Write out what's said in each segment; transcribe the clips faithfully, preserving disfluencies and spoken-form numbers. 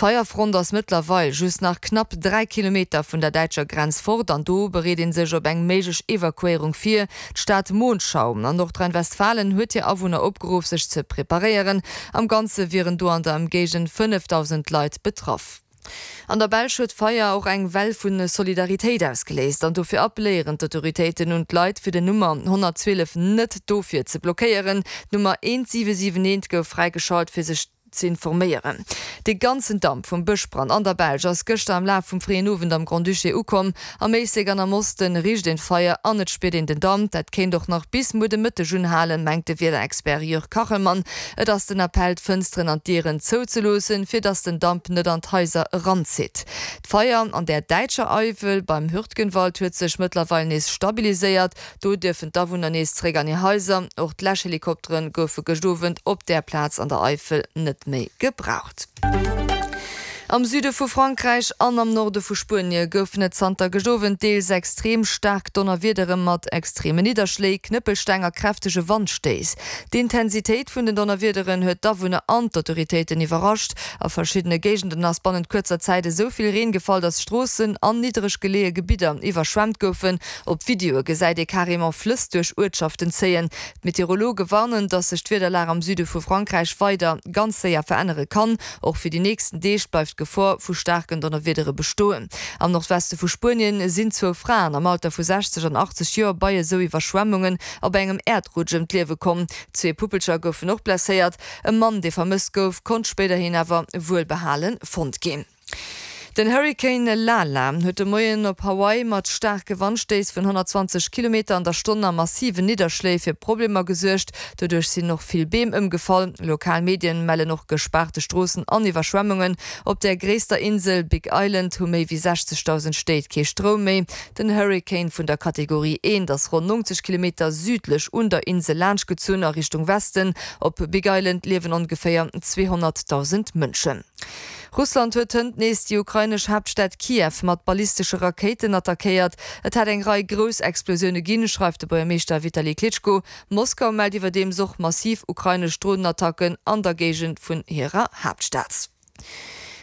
D'Feierfront ass mëttlerweil just nach knapp dräi Kilometer vun der däitscher Grenz fort an do bereet ee sech op eng méiglech Evakuéierung vir. D'Stad Monschau an Nordrhein-Westfalen huet hir Awunner opgeruff, sech ze preparéieren. Am Ganze wieren do an der Ëmgéigend fënnefdausend Leit betraff. An der Belsch huet d'Feier och eng Well vu Solidaritéit ausgeléist an dofir appelléieren d'Autoritéiten un d'Leit, fir den Nummer honnertzwielef net dofir ze blockéieren. D'Nummer eent siwe siwen eent gouf fräigeschalt, fir sech ze informéieren. De ganzen Damp vum Bëschbrand an der Belsch ass gëschter am Laf vum fréien Owend am Grand-Duché ukomm. Am Éislek an am Oste richt een d'Feier an et spiert een den Damp. Dat kéint och nach bis muer de Mëtteg unhalen, mengt de Wiederexpert Jörg Kachelmann. Et ass den Appell, d'Fënsteren an d'Dieren zouzeloossen, fir dass den Damp net an d'Haiser eranzitt. D'Feier an der däitscher Eifel beim Hürtgenwald huet sech mëttlerweil nees stabiliséiert. Do dierfen d'Awunner nees zeréck an hir Haiser. Och d'Läschhelikoptere goufe gëscht Owend op där Plaz an der Eifel net méi gebraucht. Am Süde vu Frankräich an am Norde vu Spuenie goufen et zanter gëscht Owend deels extrem staark Donnerwiedere mat extreme Nidderschléi, Knëppelsteng a kräftege Wandstéiss. D'Intensitéit vun den Donnerwiederen huet d'Awunner an d'Autoritéiten iwwerrascht. A verschiddene Géigenden ass bannent kuerzer Zäit esou vill Reen gefall, datt Stroossen an niddereg geleeë Gebidder iwwerschwemmt goufen. Op Videoe gesäit ee carrément Flëss duerch Uertschaften zéien. D'Meteorologe warnen, datt sech d'Wiederlag am Süde vu Frankräich weider ganz séier verännere kann. Och fir déi nächsten Deeg bleift d'Gefor vu staarken Donnerwiedere bestoen. Am Nordweste vu Spuenien sinn zwou Fraen am Alter vu sechzeg an achtzeg Joer bei esou Iwwerschwemmungen a bei engem Äerdrutsch ëm d'Liewe komm. Zwee Puppelcher goufen och blesséiert. E Mann, dee vermësst gouf, konnt spéiderhin awer wuelbehale fonnt ginn. Den Hurrikan Lala huet de Moien op Hawaii mat staarke Wandstéiss vun honnertzwanzeg Kilometer an der Stonn a massiven Nidderschléi fir Problemer gesuergt. Doduerch sinn och vill Beem ëmgefall. Lokal Medien mellen och gespaarte Stroossen an Iwwerschwemmungen. Op der gréisster Insel Big Island hu méi wéi sechzegdausend Stéit kee Stroum méi. Den Hurrikan vun der Kategorie eent ass ronn nonzeg Kilometer südlech un der Insel laanschtgezunn a Richtung Westen. Op Big Island liewen ongeféier zweehonnertdausend Mënschen. Russland huet hënt nees déi ukrainesch Haaptstad Kiew mat ballistesche Rakéiten attackéiert. Et hätt eng Rei grouss Explosioune ginn, schreift de Buergermeeschter Vitali Klitschko. Moskau mellt iwwerdeems och massiv ukrainesch Dronenattacken an der Géigend vun hirer Haaptstad.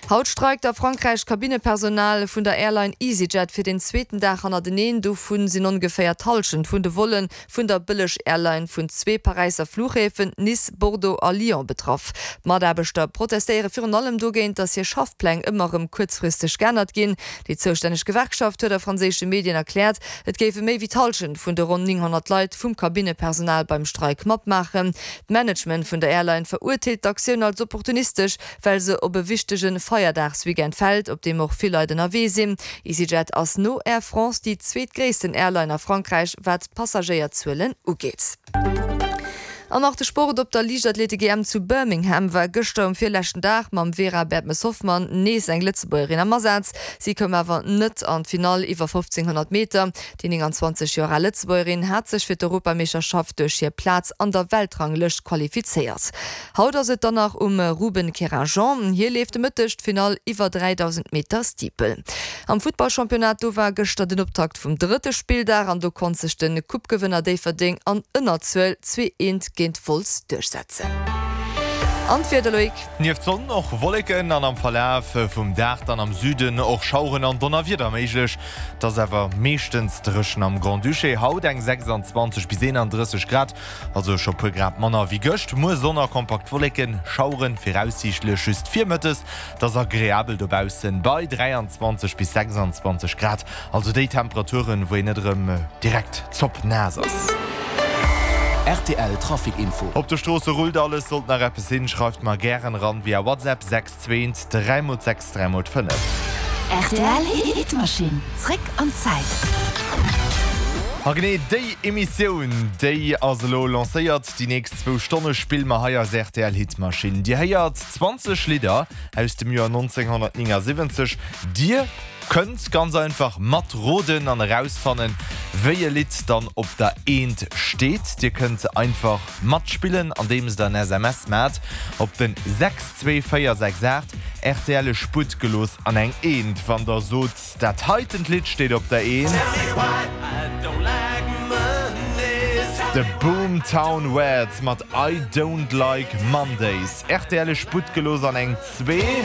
Haut streikt a Frankräich d'Kabinnepersonal vun der Airline EasyJet fir den zweeten Dag hannerteneen. Dovu sinn ongeféier d'Hallschent vun de Volle vun der Bëlleg-Airline vun zwee Paräisser Fluchhäfen, Nice, Bordeaux a Lyon, betraff. D'Mataarbechter protestéiere virun allem dogéint, datt hir Schaffpläng ëmmer erëm kuerzfristeg geännert ginn. Déi zoustänneg Gewerkschaft huet a franséische Medien erkläert, et géife méi wéi d'Hallschent vun de ronn nénghonnert Leit vum Kabinnepersonal beim Streik matmaachen. D'Management vun der Airline verurteelt d'Aktioun als opportunistesch, well se op e wichtege Feierdagsweekend fält, op deem och vill Leit ënnerwee sinn. EasyJet ass no Air France déi zweetgréissten Airline a Frankräich, wat d'Passagéierzuelen ugeet. An nach de Sport, Op der Liichtathletik-E M zu Birmingham war gëschter um virleschten Dag mam Vera Bertmes-Hoffmann nees eng Lëtzebuergerin am Asaz. Si koum awer net an d'Finall iwwer fofzénghonnert Meter. Déi nénganzwanzeg Joer al Lëtzebuergerin hat sech fir d'Europameeschterschaft duerch hir Plaz an der Weltranglëscht qualifizéiert. Haut ass et dann nach um Ruben Kerajan. Hie leeft de Mëtteg d'Finall iwwer dräidausend Meter Steeple. Am Futtballchampionnat, do war gëschter den Optakt vum drëtte Spilldag an do konnt sech de Coupe-Gewënner Déifferdeng an Ënnerzuel zwee eent géint Wolz duerchsetzen. An d'Wieder, Loïc? Nieft Sonn och Wolleken an am Verlaf vum Dag dann am Süden och Schaueren an Donnerwieder méiglech. Et ass awer meeschtens dréchen am Grand-Duché. Haut eng sechsanzwanzeg bis eenandrësseg Grad, also scho puer Grad manner wéi gëscht. Muer Sonn a kompakt Wolleken, Schaueren viraussiichtlech just virmëttes. Et ass agreabel dobaussen bei dräianzwanzeg bis sechsanzwanzeg Grad, also déi Temperaturen, wou een net erëm direkt zoppnaass ass. R T L Trafic Info. Op de Stroosse rullt alles, sollt nach eppes sinn, schreift mer gären eran via WhatsApp sechs zwee dräi mol sechs dräi mol fënnef. R T L Hitmaschinn, zréck an d'Zäit. A genee déi Emissioun, déi ass elo lancéiert. Déi nächst zwou Stonne spille mer hei eis R T L Hitmaschinn. Dir héiert zwanzeg Lidder aus dem Joer nonzénghonnertnéngasiwwenzeg. Dir kënnt ganz einfach matroden an erausfannen, wéi e Lidd dann op der Eent steet. Dir kënnt einfach matspillen, andeems der en S M S maacht op den sechs zwee véier sechs aacht, R T L Sputt gelooss an eng Eent, wann der sot, dat heitent Lidd steet op der Eent. The Boomtown Rats mat I Don't Like Mondays. R T L Sputt gelooss an eng Zwee.